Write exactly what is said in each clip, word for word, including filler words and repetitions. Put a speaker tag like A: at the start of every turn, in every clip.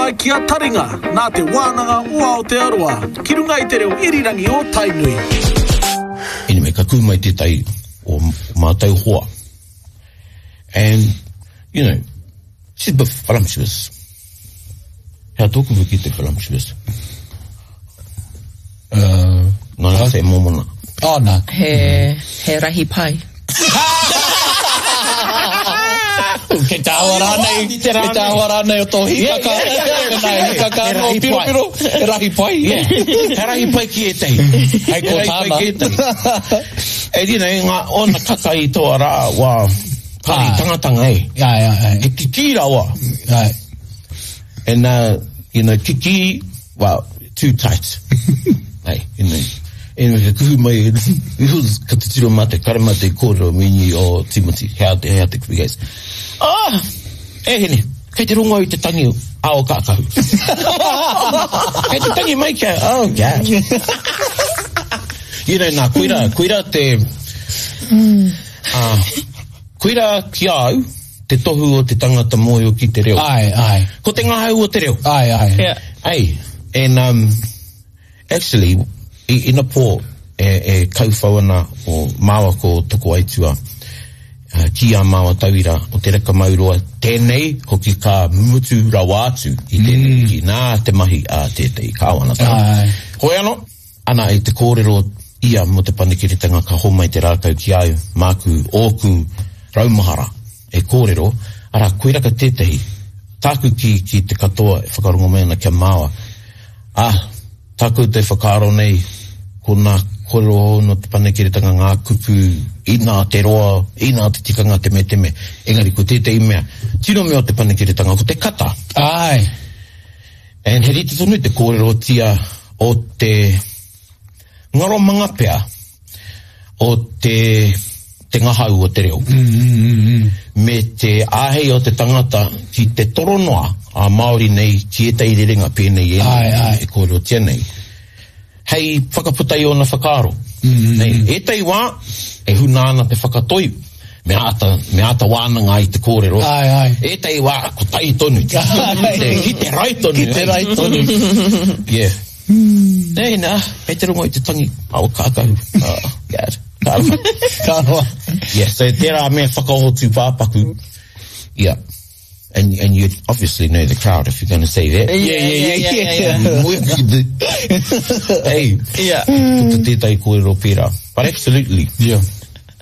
A: Mai ki a Taringa, nā Te Wānanga o Aotearoa, ki runga i te reo irirangi o Tainui.
B: Anyway, ka kū mai tētahi o mātou hoa. And, you know, she's a bit voluptuous. Hea tōku ki te voluptuous?
C: Uh,
B: Nā, nā, se mōmona.
C: Oh, nā.
D: He, he rahi pai.
C: Kei te awa rānei, kei te awa rānei o tō hikaka. Hikaka
B: He
C: no
B: rahi
C: piro
B: pai.
C: piro. He rahi pai.
B: Yeah. He rahi pai ki ētahi.
C: Hei ko
B: He rahi pai
C: tāna.
B: ki ētahi. E you know, ngā ona kaka i tō rā, wā, kari
C: Ah.
B: tangatanga e.
C: Ai, ai, ai.
B: He kiki rawa.
C: Ai.
B: And, uh, you know, kiki, well, too tight. Hey, you know. Anyway, ka kuhu mai, ka titiro mate, kare mate kōrero mini o Timothy, hea te, hea te kupi guys. Ah! E hene, kei te rongo au i te tangi a o kākahu. Kei te tangi mai kia, oh God. You know, nā, koira, koira te, ah, koira ki a au, te tohu o te tangata mōhio ki te reo.
C: Ai, ai.
B: Ko te ngahau o te reo.
C: Ai, ai.
D: Yeah.
B: Hey, and um, actually, i ina pō e, e kauwhau ana o māua ko toko aitua uh, ki a māua tauira o te reka mauroa tēnei hoki ka mutu rawa atu i tēnei mm. ki nā te mahi a tētehi kāwanatanga.
C: Ai.
B: Hoi anō, ana i te kōrero ia mō te panekiretanga ka homai te rākau ki au, māku, ōku raumahara e kōrero, ara koiraka tētehi, tāku ki, ki te katoa e whakarongo mai ana kia māua. Ah, tāku te whakaaro nei, ko nā kōrero hou no te panekiretanga ngā kupu, inā te roa, inā te tikanga te me te me. Engari ko tētehi mea, tino mea o te panekiretanga, ko te kata.
C: Ai.
B: And he rite tonu te kōrerotia o te ngaromanga pea o te, te ngahau o te reo.
C: Mm, mm, mm.
B: Me te āhei o te tangata ki te toronoa a Māori nei ki ētahi rerenga pēnei e,
C: Ai, ai.
B: e kōrerotia nei. Hei whakaputa i ōna whakaaro.
C: Mm,
B: Nei, ētahi wā, e huna ana te whakatoi, me āta, me āta wānanga i te kōrero.
C: Ai, ai.
B: Ētahi wā, ko tai tonu. Ki te, ki te rai tonu.
C: Ki te rai tonu.
B: Yeah. Nei, nā, hei te rongo i te tangi. Awa kākahu. Oh, God. Ka roa.
C: Ka roa.
B: Yeah, so tērā mea whakaoho tūpāpaku. Yeah. And, and you'd obviously know the crowd if you're going to say that.
D: Yeah, yeah, yeah, yeah, yeah.
B: Hey,
D: Yeah.
B: puta tētahi kōrero pērā. But absolutely.
C: Yeah.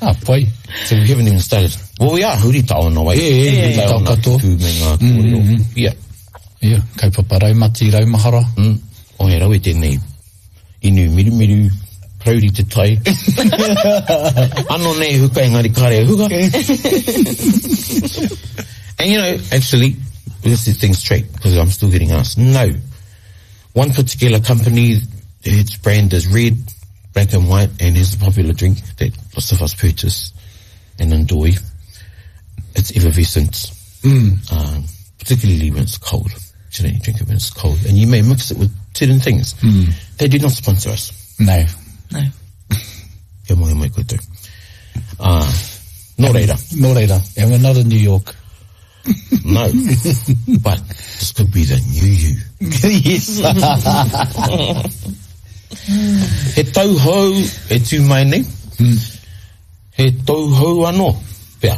C: Ah, pai.
B: So we haven't even started. Well, we are huri taona wai.
C: Yeah, yeah,
D: yeah,
B: Huri taona
C: katoa.
B: kupu me ngā kōrero. Yeah.
C: Yeah, kaupapa raumati, raumahara.
B: Mm. O he rawe tēnei. Inu mirumiru, parauri te tai. Ano nei huka engari kare huka. And you know, actually, let's get things straight, because I'm still getting asked. No. One particular company, its brand is red, black and white, and is a popular drink that lots of us purchase and enjoy. It's effervescent.
C: Mm.
B: Um, particularly when it's cold. You know, you drink it when it's cold. And you may mix it with certain things.
C: Mm.
B: They do not sponsor us.
C: No.
D: No.
B: Kia moe mai koutou. Ah, nō reira.
C: Nō reira. And we're not in New York.
B: No. But this could be the new you.
C: Yes.
B: He tau hou e tū mai nei.
C: Mm.
B: He tau hou anō. Pea.